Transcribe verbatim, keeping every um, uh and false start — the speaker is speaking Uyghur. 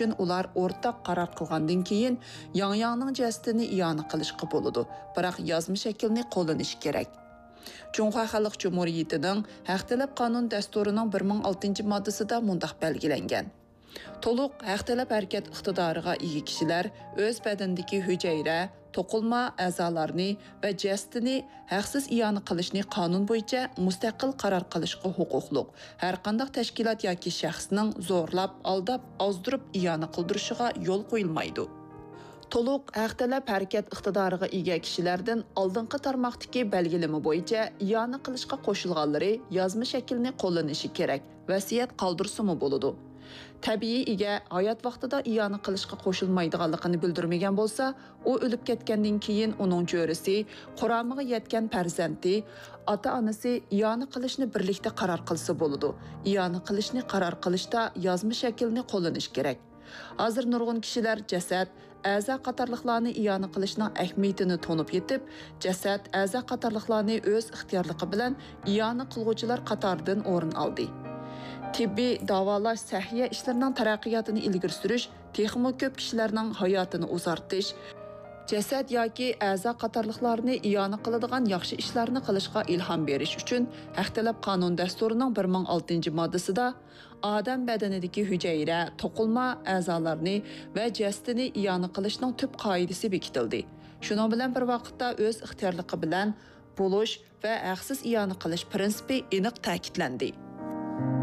ئۈچۈن ئۇلار ئورتاق قارار قىلغاندىن كېيىن، ياڭياڭنىڭ جەسىتىنى ئىئانە قىلىشقا بولىدۇ، بىراق يازما شەكىلنى قوللىنىشى كېرەك. جۇڭخۇا خەلق جۇمھۇرىيىتىنىڭ ھەق تەلەپ قانۇن دەستۇرىنىڭ بىر مىڭ ئالتىنچى ماددىسىدا مۇنداق بەلگىلەنگەن: تولۇق ھەق تەلەپ ھەرىكەت ئىقتىدارىغا ئىگە كىشىلەر ئۆز بەدىنىدىكى ھۈجەيرە، توقۇلما ئەزالارنى ۋە جەسىتىنى ھەقسىز ئىئانە قىلىشنى قانۇن بويىچە مۇستەقىل قارار قىلىشقا ھوقۇقلۇق، ھەرقانداق تەشكىلات ياكى شەخسنىڭ زورلاپ، ئالداپ، ئازدۇرۇپ ئىئانە قىلدۇرۇشىغا يول قويۇلمايدۇ. تولۇق ھەق تەلەپ ھەرىكەت ئىقتىدارىغا ئىگە كىشىلەردىن ئالدىنقى تارماقتىكى بەلگىلىمە بويىچە ئىئانە قىلىشقا قوشۇلغانلىرى يازما شەكىلنى قوللىنىشى كېرەك، ۋەسىيەت قالدۇرسىمۇ بولىدۇ. تەبىئىي ئىگە ھايات ۋاقتىدا ئىئانە قىلىشقا قوشۇلمايدىغانلىقىنى بىلدۈرمىگەن بولسا، ئۇ ئۆلۈپ كەتكەندىن كېيىن ئۇنىڭ جۆرىسى، قۇرامىغا يەتكەن پەرزەنتى، ئاتا-ئانىسى ئىئانە قىلىشنى بىرلىكتە قارار قىلسا بولىدۇ. ئىئانە قىلىشنى قارار قىلىشتا يازما شەكىلنى قوللىنىش كېرەك. ھازىر نۇرغۇن كىشىلەر جەسەت، ئەزا قاتارلىقلارنى ئىئانە قىلىشنىڭ ئەھمىيىتىنى تونۇپ يېتىپ، جەسەت، ئەزا قاتارلىقلارنى ئۆز ئىختىيارلىقى بىلەن ئىئانە قىلغۇچىلار قاتارىدىن ئورۇن ئالدى. تېببىي، داۋالاش، سەھىيە ئىشلىرىنىڭ تەرەققىياتىنى ئىلگىرى سۈرۈش تېخىمۇ كۆپ كىشىلەرنىڭ ھاياتىنى ئۇزارتىش، جەسەت ياكى ئەزا قاتارلىقلارنى ئىئانە قىلىدىغان ياخشى ئىشلارنى قىلىشقا ئىلھام بېرىش ئۈچۈن ھەق تەلەپ قانۇن دەستۇرىنىڭ بىر مىڭ ئالتىنچى ماددىسىدا ئادەم بەدىنىدىكى ھۈجەيرە، توقۇلما ئەزالارنى ۋە جەسىتىنى ئىئانە قىلىشنىڭ تۈپ قائىدىسى بېكىتىلدى. شۇنىڭ بىلەن بىر ۋاقىتتا، ئۆز ئىختىيارلىقى بىلەن بولۇش ۋە ھەقسىز ئىئانە قىلىش پىرىنسىپى ئېنىق تەكىتلەندى.